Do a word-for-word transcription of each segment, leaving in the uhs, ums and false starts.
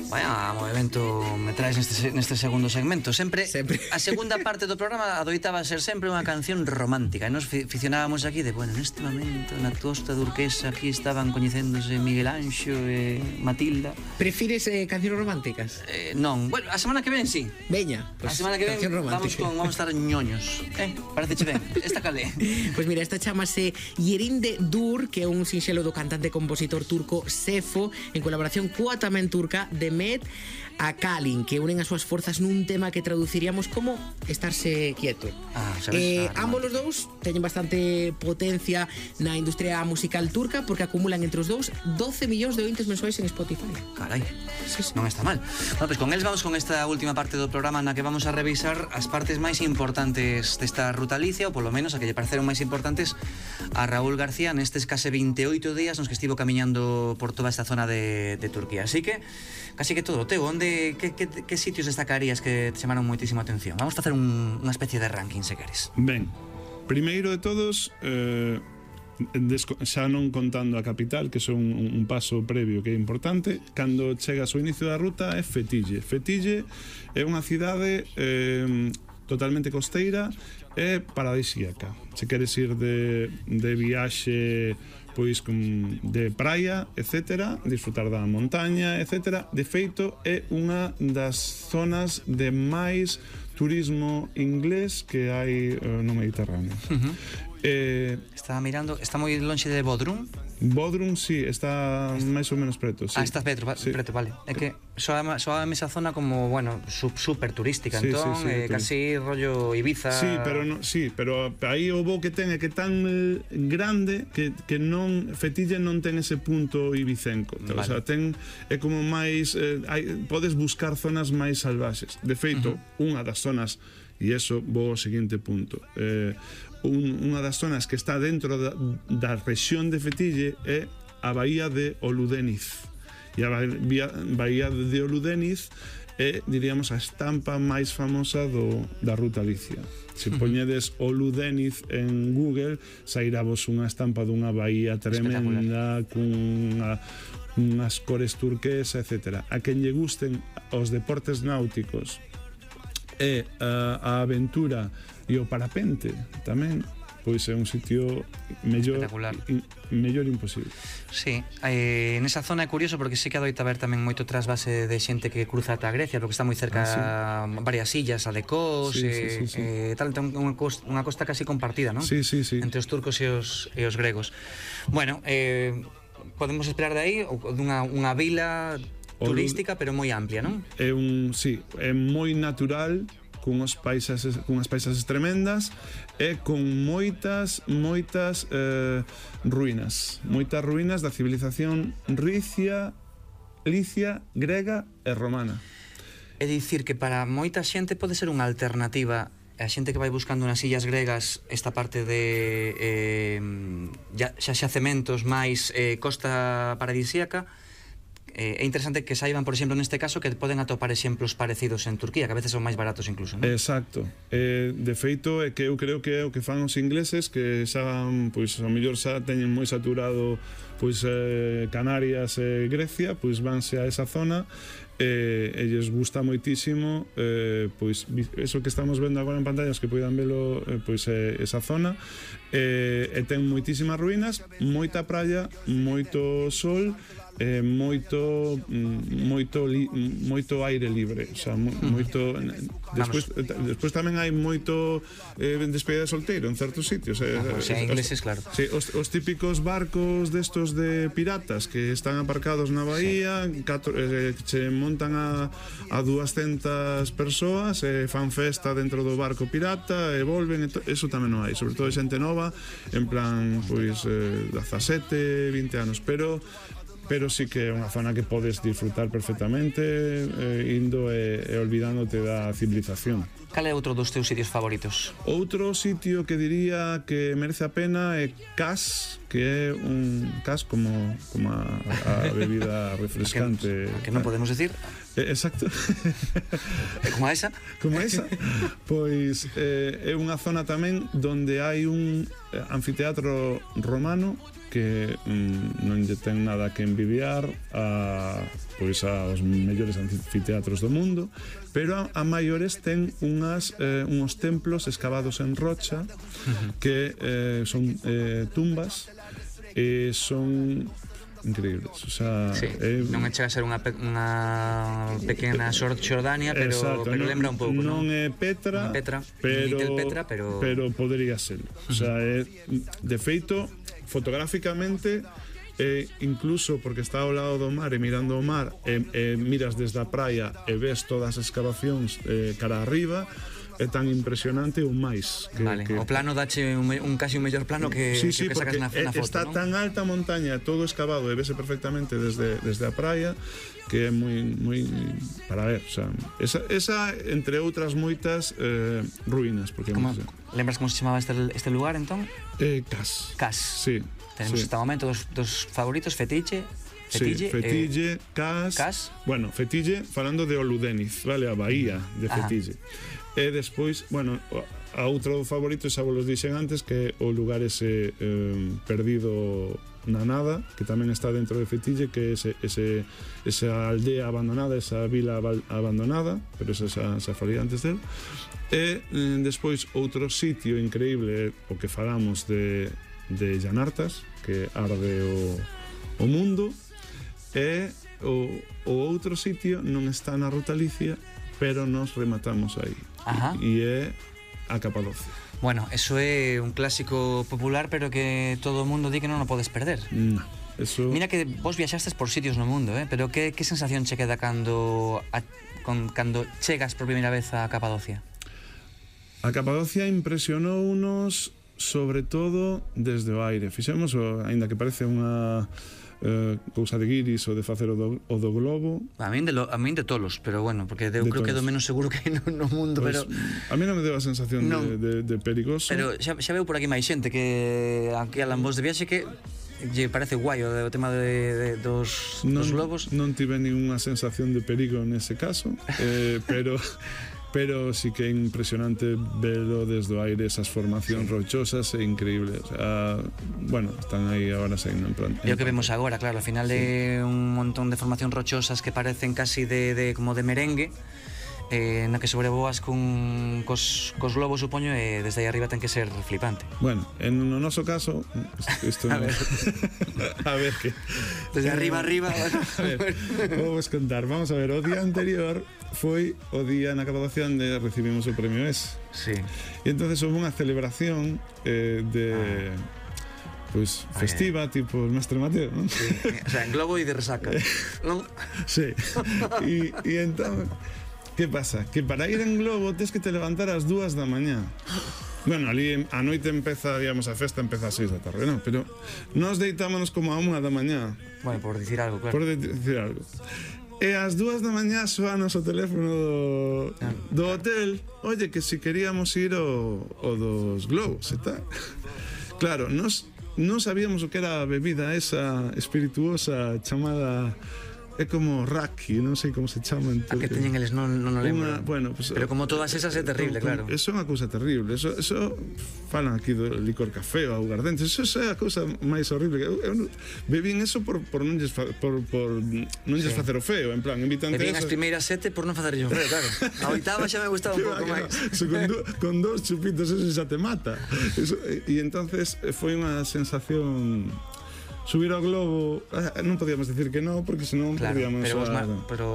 Vaya movimento me traes neste, neste segundo segmento. Sempre, sempre. A segunda parte do programa adoitaba ser sempre unha canción romántica. E nos ficcionábamos aquí de, bueno, neste momento na costa turquesa aquí estaban coñecéndose Miguel Anxo e Matilda. Prefires eh, cancións románticas? Eh, non, bueno, a semana que ven sí. Veña, pues, a pues, semana que ven vamos, con, vamos a estar ñoños. Eh, parece ben, esta calé. Pois pues mira, esta chamase Yerinde Dur, que é un sinxelo do cantante e compositor turco Sefo, en colaboración coa tamén turca de Met a Kalin, que unen as súas forzas nun tema que traduciríamos como estarse quieto. Ah, sabes, eh, ah, ambos os dous teñen bastante potencia na industria musical turca porque acumulan entre os dous doce millóns de ointes mensuais en Spotify. Carai, sí, sí. Non está mal. Bueno, pues con eles vamos con esta última parte do programa na que vamos a revisar as partes máis importantes desta ruta Alicia, ou polo menos a que lle pareceron máis importantes a Raúl García nestes case veintioito días nos que estivo camiñando por toda esta zona de, de Turquía. Así que, casi que todo teu, onde que, que, que sitios destacarías que te chamaron moitísima atención? Vamos a facer un, unha especie de ranking, se queres. Ben, primeiro de todos, eh, xa non contando a capital, que son un, un paso previo que é importante, cando chegas ao inicio da ruta é Fethiye. Fethiye é unha cidade eh, totalmente costeira e paradisíaca. Se queres ir de, de viaxe pois con, de praia, etcétera, disfrutar da montaña, etcétera. De feito, é unha das zonas de máis turismo inglés que hai uh, no Mediterráneo. Uh-huh. eh, Estaba mirando, está moi lonxe de Bodrum. Bodrum, sí, está máis ou menos preto, sí. Ah, está preto, va, sí. preto, vale. É que soa, soa esa zona como, bueno, super turística, sí, entón, sí, sí, eh, casi rollo Ibiza. Sí, pero no, sí, pero aí o bo que ten é que tan grande que, que non Fethiye non ten ese punto ibicenco. Vale. O sea, ten é como máis eh, hai, podes buscar zonas máis salvaxes. De feito, uh-huh. unha das zonas, e eso vou ao seguinte punto. Eh, Un, unha das zonas que está dentro da, da rexión de Fethiye é a Bahía de Oludeniz. E a Bahía, Bahía de Oludeniz é, diríamos, a estampa máis famosa do, da ruta Alicia. Se poñedes Oludeniz en Google, sairá vos unha estampa dunha bahía tremenda, cunha unhas cores turquesa, etcétera. A quen lle gusten os deportes náuticos e a, a aventura e o parapente tamén, pois é un sitio mellor in, mellor imposible. Sí, eh, nesa zona é curioso porque sí que adoita ver tamén moito trasvase de xente que cruza ata Grecia, porque está moi cerca ah, sí. varias illas, a de Kos, sí, eh, sí, sí, sí. eh, tal, entón unha costa, unha costa casi compartida, non? Sí, sí, sí. Entre os turcos e os, e os gregos. Bueno, eh, podemos esperar de aí dunha unha vila turística, pero moi amplia, non? É un, sí, é moi natural, cunhas paisaxes, cunhas paisaxes tremendas e con moitas, moitas eh, ruínas, moitas ruínas da civilización ricia, licia, grega e romana. É dicir que para moita xente pode ser unha alternativa a xente que vai buscando nas illas gregas esta parte de eh, ya, xa xacementos máis eh, costa paradisíaca. É interesante que saiban, por exemplo, neste caso, que poden atopar exemplos parecidos en Turquía, que a veces son máis baratos incluso, non? Exacto. Eh, de feito, é que eu creo que é o que fan os ingleses, que xa, pois, ao mellor xa teñen moi saturado pois eh, Canarias e Grecia, pois vanse a esa zona e eh, lles gusta moitísimo eh, pois eso que estamos vendo agora en pantallas, que poidan velo eh, pois eh, esa zona eh, e ten moitísimas ruínas, moita praia, moito sol, eh, moito moito li, moito aire libre, o sea, mo, moito despois, despois tamén hai moito eh, despedida de solteiro en certos sitios, eh, ah, o sea, ingleses, claro. Sí, os, os típicos barcos destos de piratas que están aparcados na bahía, sí. catro, eh, se montan a, a dúascentas persoas e fan festa dentro do barco pirata e volven, e to, eso tamén non hai, sobre todo xente nova en plan, pois eh, dezasete, vinte anos, pero pero sí que é unha zona que podes disfrutar perfectamente eh, indo e, e olvidándote da civilización. Cal é outro dos teus sitios favoritos? Outro sitio que diría que merece a pena é Kas, que é un Kas como, como a, a bebida refrescante. Que, que non podemos decir? Eh, exacto. Como esa? Como esa. Pois eh, é unha zona tamén donde hai un anfiteatro romano que mm, non lle ten nada que envidiar a, pois aos mellores anfiteatros do mundo, pero a, a maiores ten unhas eh, uns templos escavados en rocha que eh, son eh, tumbas e son increíbles, o sea, sí, eh, non chega a ser unha, pe unha pequena Xordania, pero, exacto, pero non, lembra un pouco, non? Non é Petra, non é Petra, pero, Petra, pero... pero podría ser. O sea, é, de feito, fotográficamente, e incluso porque está ao lado do mar e mirando o mar, e, e miras desde a praia e ves todas as excavacións eh, cara arriba, é tan impresionante ou máis que, vale, que... o plano dache un, un casi un mellor plano que, sí, sí, que, que sacas na, na foto, está ¿no? tan alta a montaña, todo excavado e vese perfectamente desde, desde a praia, que é moi moi para ver, o sea, esa, esa entre outras moitas eh, ruínas, porque como, no sé. lembras como se chamaba este, este lugar entón? Eh, Cas. Cas. Sí. Tenemos sí. hasta o momento dos, dos favoritos, Fetiche, Fetille, sí, Fetille, eh, Cas, Cas. Bueno, Fetille falando de Oludeniz, vale, a bahía de Fetille. Ajá. E despois, bueno, a outro favorito, xa vos los dixen antes, que o lugar ese eh, perdido na nada, que tamén está dentro de Fetille, que é ese, ese, esa aldea abandonada, esa vila abandonada, pero esa xa, xa falei antes del. E eh, despois outro sitio increíble, o que falamos de, de Llanartas, que arde o, o mundo, e o, o outro sitio non está na Ruta Licia, pero nos rematamos aí. Ajá. E é a Capadocia. Bueno, eso é un clásico popular, pero que todo o mundo di que non o podes perder. No, eso... Mira que vos viaxastes por sitios no mundo, eh? Pero que, que sensación che queda cando, a, con, cando chegas por primeira vez a Capadocia? A Capadocia impresionounos sobre todo desde o aire. Fixemos, aínda que parece unha Uh, cousa de guiris ou de facer o do, o do globo. A min de, lo, a min de tolos, pero bueno, porque eu creo tolos. Que é do menos seguro que hai no, no mundo, pues, pero a mí non me deu a sensación no, de, de, de perigoso. Pero xa, xa veu por aquí máis xente que aquí alan vos de viaxe que lle parece guai o, o tema de, de, dos, non, dos globos. Non tive ninguna sensación de perigo nese caso, eh, pero pero sí que é impresionante verlo desde o aire, esas formacións sí. rochosas, é increíble. O sea, bueno, están aí agora saindo en plan. É o que vemos agora, claro, ao final sí. de un montón de formacións rochosas que parecen casi de, de como de merengue, eh, na que sobrevoas cun, cos, cos globos, supoño, e desde aí arriba ten que ser flipante. Bueno, en no noso caso, isto a, no... ver. a ver que... Desde arriba, arriba... a ver, vamos contar, vamos a ver, o día anterior foi o día na Capadocia onde recibimos o premio E S. Sí. E entonces houve unha celebración eh, de... Ah. Pois pues, festiva, okay. tipo el Mestre Mateo, non? Sí. O sea, en globo e de resaca, non? Sí. E, e entón... Que pasa? Que para ir en globo tens que te levantar ás dúas da mañá. Bueno, ali a noite empeza, digamos, a festa empeza ás seis da tarde, non? Pero nós deitámonos como a unha da mañá. Bueno, por dicir algo, claro. Por dicir algo. E ás dúas da mañá soanos o teléfono do, ah, do hotel. Oye, que si queríamos ir ao, ao dos globos e tal. Claro, nós non sabíamos o que era a bebida esa espirituosa chamada... É como raki, non sei como se chama. A que teñen eles non, non o lembro. Una, bueno, pues, pero como todas esas é terrible, con, claro. Eso é unha cousa terrible. Eso, eso falan aquí do licor café ou aguardente. Eso, eso é a cousa máis horrible. Eu, eu bebín eso por, por non lles, por, por non lles sí. facer o feo. En plan, invitante bebín as primeiras sete por non facer o feo, claro. A oitava xa me gustaba un pouco máis. So, con, do, con dos chupitos eso xa te mata. Eso, e entonces foi unha sensación... Subir ao globo, non podíamos decir que non, porque senón claro, podíamos... Pero, a... ma pero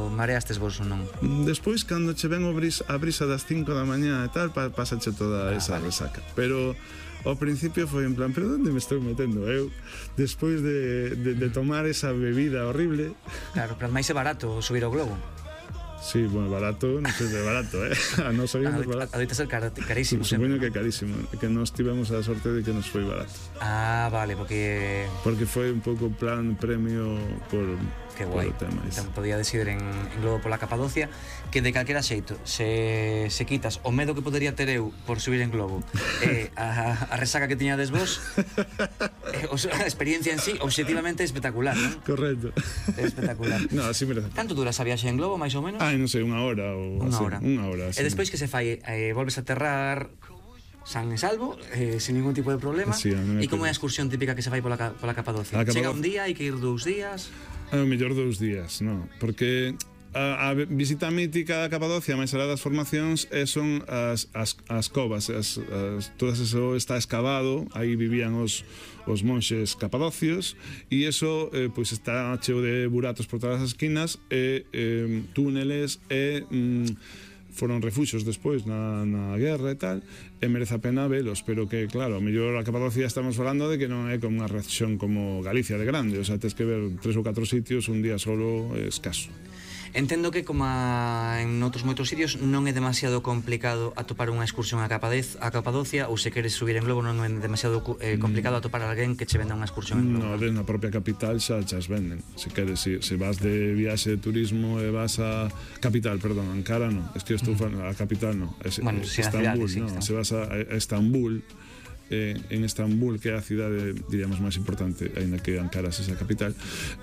mareastes vos ou non? Despois, cando che ven o brisa, a brisa das cinco da mañá e tal, pa, pasache toda ah, esa vale. resaca. Pero ao principio foi en plan, pero onde me estou metendo eu? Despois de, de, de tomar esa bebida horrible... Claro, pero máis é barato subir ao globo. Sí, bueno, barato, non sei de barato, eh? A non sabíamos barato. Adoita ser car carísimo. Supoño que carísimo, que nos tivemos a sorte de que nos foi barato. Ah, vale, porque... Porque foi un pouco plan premio por... Que guai, entón podía decidir en, en globo pola Capadocia, que de calquera xeito se, se quitas o medo que podería ter eu por subir en globo e eh, a, a resaca que tiñades vos, eh, a experiencia en sí obxectivamente é espectacular, non? Correcto. É espectacular. No, así merece. Canto dura esa viaxe en globo, máis ou menos? Ai, non sei, unha hora ou unha así, hora. Unha hora, así. E despois que se fai, eh, volves a aterrar san e salvo, eh, sin ningún tipo de problema. Sí, e como é a excursión típica que se fai pola, pola Capadocia? Chega un día, hai que ir dous días... É o mellor dous días, non? Porque a, a visita mítica da Capadocia, máis alá das formacións, e son as, as, as covas, as, as, todas eso está excavado, aí vivían os, os monxes capadocios, e eso eh, pois está cheo de buratos por todas as esquinas, e eh, túneles, e mm, foron refuxos despois na, na guerra e tal, e merece a pena velos, pero que, claro, a mellor a Capadocia estamos falando de que non é como unha región como Galicia de grande, o sea, tens que ver tres ou catro sitios, un día solo é escaso. Entendo que, como a, en outros moitos sitios, non é demasiado complicado atopar unha excursión a, Capadez, a Capadocia, ou se queres subir en globo non é demasiado eh, complicado atopar a alguén que che venda unha excursión en globo. No, desde na propia capital xa chas venden. Se queres, se, se vas de viaxe de turismo e vas a capital, perdón, Ankara non, es que eu estou falando, a capital non, é, bueno, é sí, Estambul, cidade, sí, no, se vas a, a Estambul, Eh, en Estambul, que é a cidade, diríamos, máis importante, aínda que Ankara sexa a capital,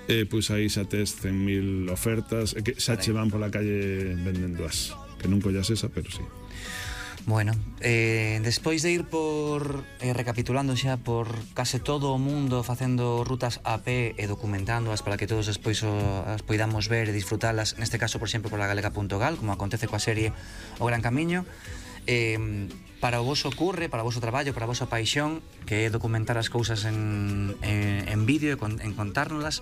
eh, pois aí xa tes cen mil ofertas, e que xa che van pola calle vendendo as, que non collas esa, pero sí. Bueno, eh, despois de ir por, eh, recapitulando xa por case todo o mundo, facendo rutas a pé e documentándoas para que todos despois o, as poidamos ver e disfrutalas, neste caso, por exemplo, por la galega punto gal, como acontece coa serie O Gran Camiño, eh, para o voso curre, para o voso traballo, para a vosa paixón, que é documentar as cousas en, en, en vídeo e con, en contárnoslas.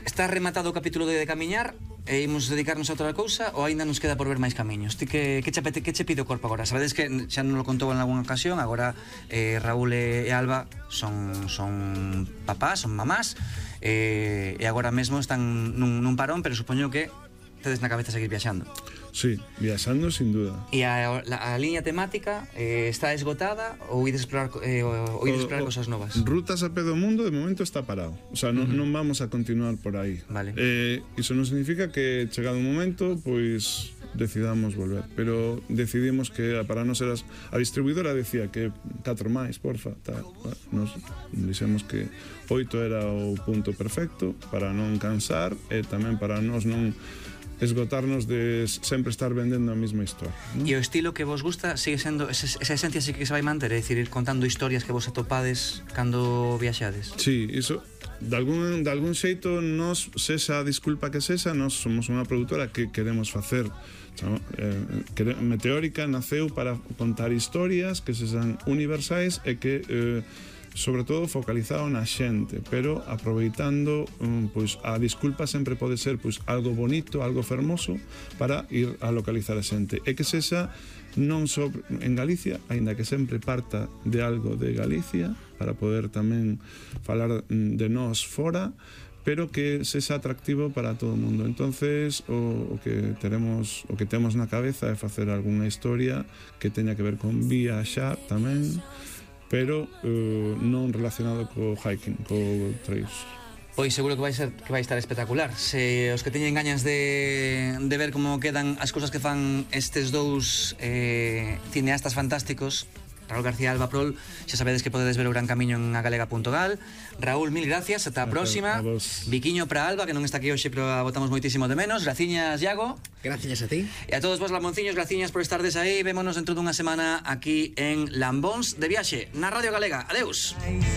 Está rematado o capítulo de, de camiñar e imos dedicarnos a outra cousa ou aínda nos queda por ver máis camiños? Ti que, que, che, que che pide o corpo agora? Sabedes que xa non lo contou en algunha ocasión, agora eh, Raúl e Alba son, son papás, son mamás, eh, e agora mesmo están nun, nun parón, pero supoño que tedes na cabeza seguir viaxando. Sí, viaxando sin duda. E a, a, a liña temática eh, está esgotada ou ides explorar, eh, ou ides explorar o, cosas novas? Rutas a pé do mundo de momento está parado. O sea, non, uh -huh. non vamos a continuar por aí. Vale. Eh, iso non significa que chegado un momento, pois decidamos volver, pero decidimos que para non ser as, a distribuidora decía que catro máis, porfa, tal. Nos dixemos que oito era o punto perfecto para non cansar e tamén para nós non esgotarnos de sempre estar vendendo a mesma historia, ¿no? E o estilo que vos gusta sigue sendo, esa, esa esencia sí que se vai manter, é dicir, ir contando historias que vos atopades cando viaxades. Sí, iso de algún, de algún xeito nos, sexa a disculpa que sexa, nos somos unha produtora que queremos facer, eh, que Meteórica naceu para contar historias que sexan universais e que eh, sobre todo focalizado na xente, pero aproveitando um, pois a disculpa sempre pode ser pois algo bonito, algo fermoso para ir a localizar a xente, e que sexa non só en Galicia, aínda que sempre parta de algo de Galicia para poder tamén falar de nós fora, pero que sexa atractivo para todo o mundo. Entonces, o, o que teremos, o que temos na cabeza é facer algunha historia que teña que ver con viaxar tamén, pero uh, non relacionado co hiking, co trails. Pois seguro que vai ser que vai estar espectacular. Se os que teñen gañas de, de ver como quedan as cousas que fan estes dous eh, cineastas fantásticos, Raúl García e Alba Prol, xa sabedes que podedes ver O Gran Camiño en a galega punto gal. Raúl, mil gracias, ata a próxima. Viquiño para Alba, que non está aquí hoxe, pero a botamos moitísimo de menos. Graciñas, Iago. Graciñas a ti. E a todos vos, lamonciños, graciñas por estardes aí. Vémonos dentro dunha semana aquí en Lambóns de Viaxe, na Radio Galega. Adeus.